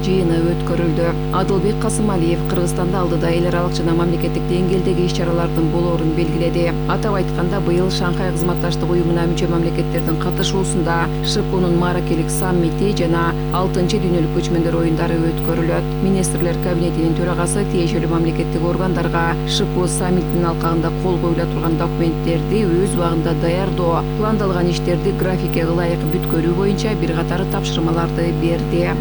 жыйыны өткөрүлдү. Адылбек Касымалиев Кыргызстанда алдыда эл аралык жана мамлекеттик деңгээлдеги иш-чаралардын болоорун белгиледи. Атап айтканда, быйыл Шанхай кызматташтык уюмуна мүчө мамлекеттердин катышуусунда ШКУнун Маракелик саммити жана 6-дүйнөлүк көчмөндөр оюндары өткөрүлөт. Министрлер кабинетинин төрагасы тиешелүү мамлекеттик органдарга ШКУ саммитинин алкагында кол коюла турган документтерди өз убагында даярдоо, пландалган иштерди графикке ылайык бүткөрүү боюнча бир катар тапшырмаларды берди.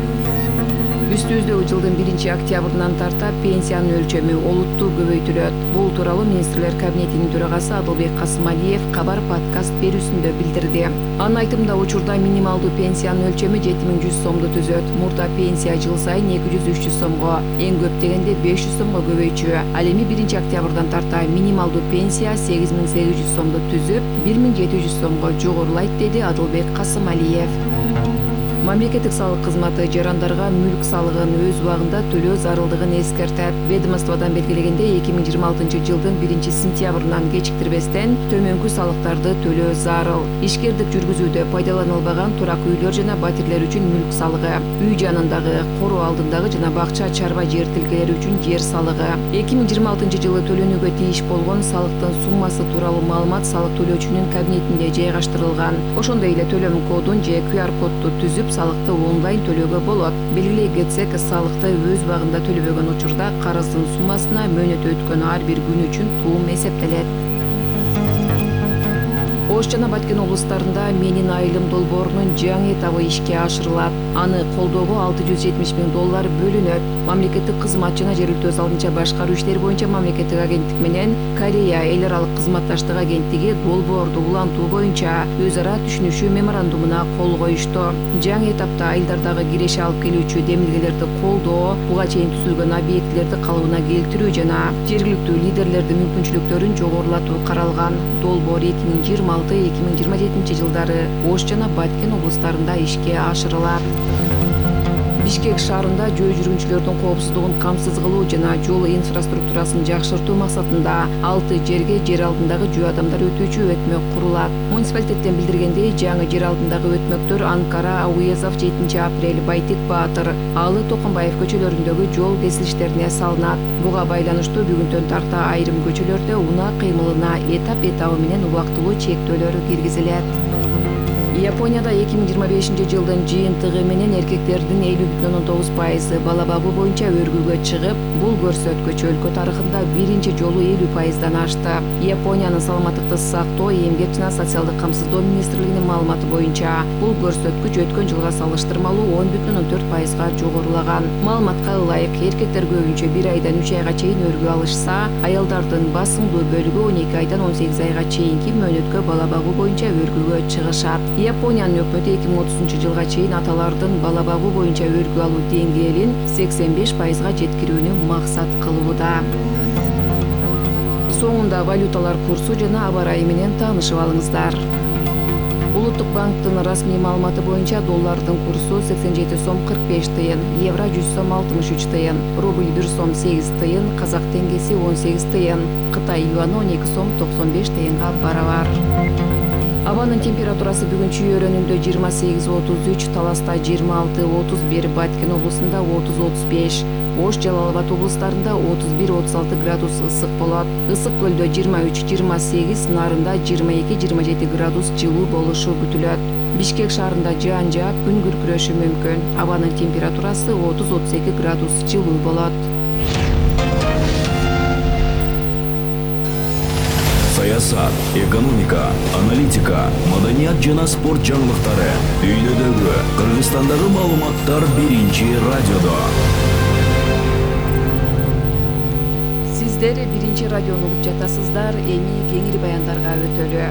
Үстүбүздөгү жылдын 1-октябрынан тарта пенсиянын өлчөмү олуттуу көбөйтүлөт. Бул тууралуу Министрлер кабинетинин төрагасы Адылбек Касымалиев Кабар подкаст берүүсүндө билдирди. Анын айтымында, учурда минималдуу пенсиянын өлчөмү 7100 сомду түзөт. Мурда пенсия жыл сайын 200-300 сомго, эң көп дегенде 500 сомго көбөйчү. Ал эми 1-октябрдан тарта минималдуу пенсия 8800 сомду түзүп, 1700 сомго жогорулайт, деди Адылбек Касымалиев. Мамлекеттик салык кызматы жарандарга мүлк салыгын өз убагында төлөө зарылдыгын эскертет. Ведомстводон белгилегенде, 2026 жылдын 1-сентябрынан кечиктирбестен төмөнкү салыктарды төлөө зарыл. Ишкердик жүргүзүүдө пайдаланылбаган турак үйлөр жана батирлер үчүн мүлк салыгы, үй жанындагы, короо алдындагы жана бакча чарба жер тилкелери үчүн жер салыгы. 2026 жылы төлөнүүгө тийиш болгон салыктын суммасы тууралуу маалымат салык төлөөчүнүн кабинетинде жайгаштырылган. Ошондой эле төлөм кодун же QR кодду түзүп салыкты онлайн төлөөгө болот. Белгилей кетсек, салыкты өз убагында төлөбөгөн учурда карыздын суммасына мөөнөтү өткөн ар бир күн үчүн туум эсептелет. Ош жана Баткен облустарында Менин айылым долбоорунун жаңы этабы ишке ашырылат. Аны колдоого $670 000 бөлүнөт. Мамлекеттик кызмат жана жергиликтүү салымча башкаруу иштери боюнча мамлекеттик агенттик менен Корея эл аралык кызматташтык агенттиги долбоорду улантуу боюнча өз ара түшүнүшүү меморандумуна кол коюшту. Жаңы этапта айылдардагы киреше алып келүүчү демилгелерди колдоо, буга чейин түзүлгөн объектилерди калыбына келтирүү жана жергиликтүү лидерлердин мүмкүнчүлүктөрүн жогорулатуу каралган. Долбоор 2026-2027 жылдары Ош жана Баткен облустарында ишке ашырылат. Бишкек шаарында жөө жүргүнчүлөрдүн коопсуздугун камсыз кылуу жана жол инфраструктурасын жакшыртуу максатында 6 жерге жер алдындагы жөө адамдар өтүүчү өтмөк курулат. Муниципалитеттен билдиргендей, жаңы жер алдындагы өтмөктөр Анкара, Ауезов, 7-апрель, Байтик Баатыр, Алы Токомбаев көчөлөрүндөгү жол кесилиштерине салынат. Буга байланыштуу бүгүнтөн тарта айрым көчөлөрдө унаа кыймылына этап менен убактылуу чектөөлөр киргизилет. Японияда 2025 жылдын жыйынтыгы менен эркектердин 50,9% бала багуу боюнча өргүлгө чыгып, бул көрсөткүч өлкө тарыхында биринчи жолу 50%дан ашты. Япониянын саламаттыкты сактоо, эмгек жана социалдык камсыздоо министрлигинин маалыматы боюнча, бул көрсөткүч өткөн жылга салыштырмалуу 10,4%га жогорулаган. Маалыматка ылайык, эркектер көбүнчө 1 айдан 3 айга чейин өргү алышса, аялдардын басымдуу бөлүгү 12 айдан 18 айга чейинки мөөнөткө бала багуу боюнча өргүлгө чыгышат. Япониянын өкмөтү 2030 жылга чейин аталардын бала багуу боюнча өргү алуу деңгээлин 85%га жеткирүүнү максат кылууда. Соңунда валюталар курсу жана аба ырайы менен таанышып алыңыздар. Улуттук банктын расмий маалыматы боюнча доллардын курсу 87 сом 45 тыйын, евро 100 сом 63 тыйын, рубль 1 сом 8 тыйын, казак теңгеси 18 тыйын, Кытай юаны 12 сом 95 тыйынга барабар. Абанын температурасы бүгүн Чүй-Өрөнүндө 28-33, Таласта 26-31, Баткен облусунда 30-35, Ош, Жалал Абад облустарында 31-36 градус ысык болот. Ысык көлдө 23-28, Нарында 22-27 градус жылуу болушу күтүлөт. Бишкек шаарында жаан жаап, күн күркүрөшү мүмкүн. Абанын температурасы 30-32 градус жылуу болот. Саясат, экономика, аналитика, маданият жана спорт жаңылыктары. Дүйнөдөгү, Кыргызстандагы маалыматтар биринчи радиодо. Сиздер биринчи радиону угуп жатасыздар, эми кеңири баяндарга өтөлү.